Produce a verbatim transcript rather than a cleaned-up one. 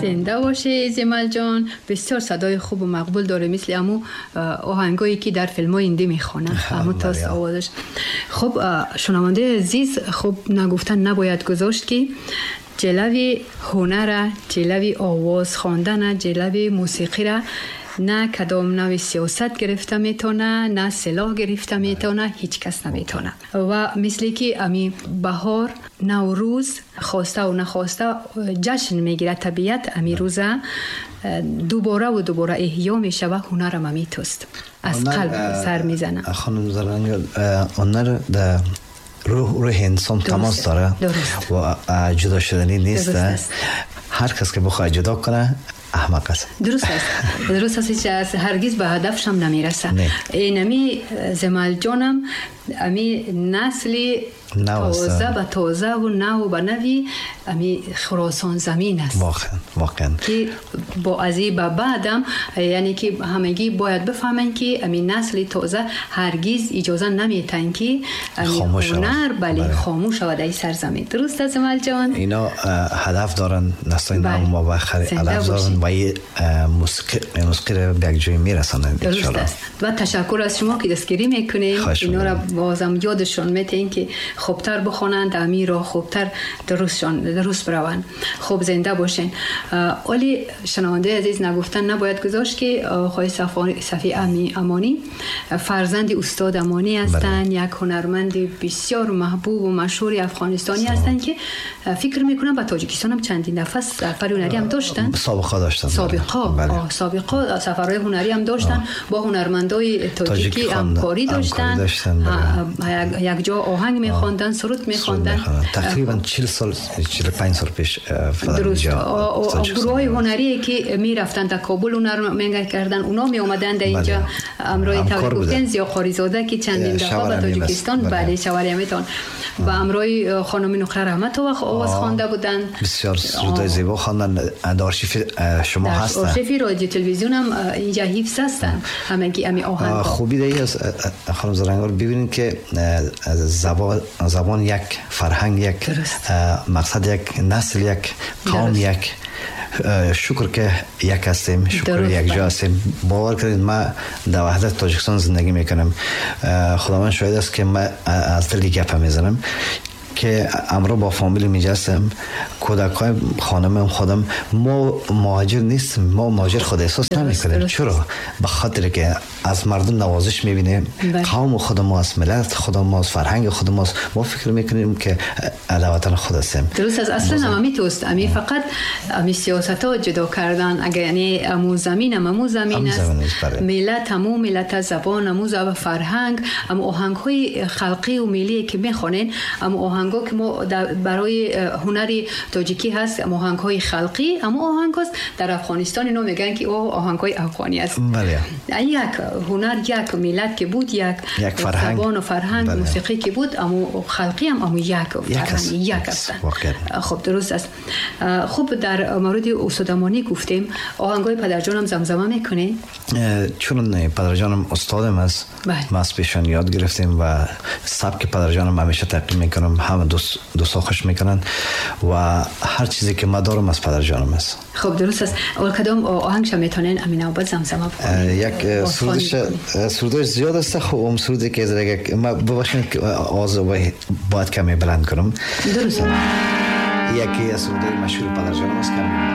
زنده باشه زمل جان، بسیار صدای خوب و مقبول داره، مثل امو آهنگایی که در فیلم های هندی میخوانن، امو تاست آوازش. خب شنونده عزیز، خب نگفتن نباید گذاشت که جلوی هنر، جلوی آواز خواندن، جلوی موسیقی را نه کدام نوع سیاست گرفته میتونه، نه سلاح گرفته میتونه، هیچ کس نمیتونه. و مثلی که امی بهار، نوروز خواسته و نخواسته جشن میگیره طبیعت، امی روزه دوباره و دوباره احیا میشه و هنر هم میتوست از قلب سر میزنه. خانم زرنگ، هنر در روح روح انسان تماس داره و جدا شدنی نیست. هر کس که بخواد جدا کنه احمق است. درست است، درست است. هیچ هرگز به هدفشم نمیرسه. اینمی زمال جانم امی نسل تازه به تازه و نو به نوی امی خراسان زمین است. واقعا واقعا که با از این به بعدم، یعنی که همگی باید بفهمن که امی نسل تازه هرگز اجازه نمیتن که امی هنر بله خاموش شود ای سرزمین. درست است زمال جان؟ اینا هدف دارن، نسل نو ما بخیر هدف دارن و موسیقی موسیقی رو به یک جایی میرسانند ان شاء الله. و تشکر از شما که دستگیری میکنین، اینا را بازم یادشون میتین که خوبتر بخوانند، امیر را خوبتر درستشان درست بروند. خوب زنده باشین. ولی شنونده عزیز، نگفتن نباید گذاشت که آقای صفی امانی فرزند استاد امانی هستند، یک هنرمند بسیار محبوب و مشهور افغانستانی هستند که فکر میکنم به تاجیکستان هم چندین دفعه سفر هنری هم داشتن. سابقه داشتن. سابقه بله. سابقه سفرهای هنری هم داشتن، با هنرمندای تاجیکی همکاری داشتن، داشتن. بله. یک جا آهنگ میخواندن، سرود میخواندن. تقریبا چهل سال چهل و پنج سال پیش. درست. گروه هنری که میرفتن در کابل هنر میکردن، اونا می اومدن در اینجا امرای توکل زیا قاریزاده که چندین دفعه به تاجیکستان بله شوریمتان و امرای خانم نقره رحمت و آواز خوانده بودن. بسیار سرودای زیبا خواندن. در آرشیو شما هستن، آرشیو رادیو تلویزیون هم اینجا حفظ هستن همگی امی آهنگ. خوبی دیگه از خانم زرنگار ببینید که زبان زبان یک، فرهنگ یک، مقصد یک، نسل یک، قوم یک. شکر که یک هستیم، شکر یک جا هستیم. باور کنید ما در وحدت تاجیکستان زندگی میکنم. خداوند شاهد است که ما از دل گپ میزنم که امرو با فامیل میجستم، کودکای خانمم خودم، ما مهاجر نیستیم، ما مهاجر خود احساس نمیکنیم. چرا؟ به خاطر که از مردم نوازش میبینیم، قوم خود ما است، ملت خود ما است، فرهنگ خود ما است. ما فکر میکنیم که وطن خود هستیم. درست است. اصلا هم امی توست، امی فقط امی سیاست ها جدا کردن. اگر یعنی امو زمین هم امو زمین است، ملت امو ملت، زبان امو زبان، فرهنگ امو آهنگ های خلقی و ملی که میخوانین، امو آهنگ که ما برای هنر تاجیکی هست، آهنگ های خلقی، اما آهنگ هست در افغانستان اینا میگن که او آهنگ های افغانی است. بله. یک هنر، یک ملت که بود، یک, یک فرهنگ، زبان و فرهنگ، بله. موسیقی که بود، اما خلقی هم اما یک فرهنگ یک هستن. خب درست است. خب در مورد استاد امانی گفتیم، آهنگ های پدرجانم زمزمه میکنه؟ چون پدرجانم استادم است، ما از پیشان یاد گرفتیم و سبک پدرجانم همیشه تعقیب میکنم، همه دوست دوستا خوش میکنن و هر چیزی که ما دارم از پدرجانم است. خب درست است. اول کدام آهنگش میتونین امین آباد زمزمه بکنید؟ یک سرودش سرودش زیاد است. خب اون سرودی که دیگه ما ببخشید که آواز باید کمی بلند کنم. درست. یکی از سرودهای مشهور پدرجانم است که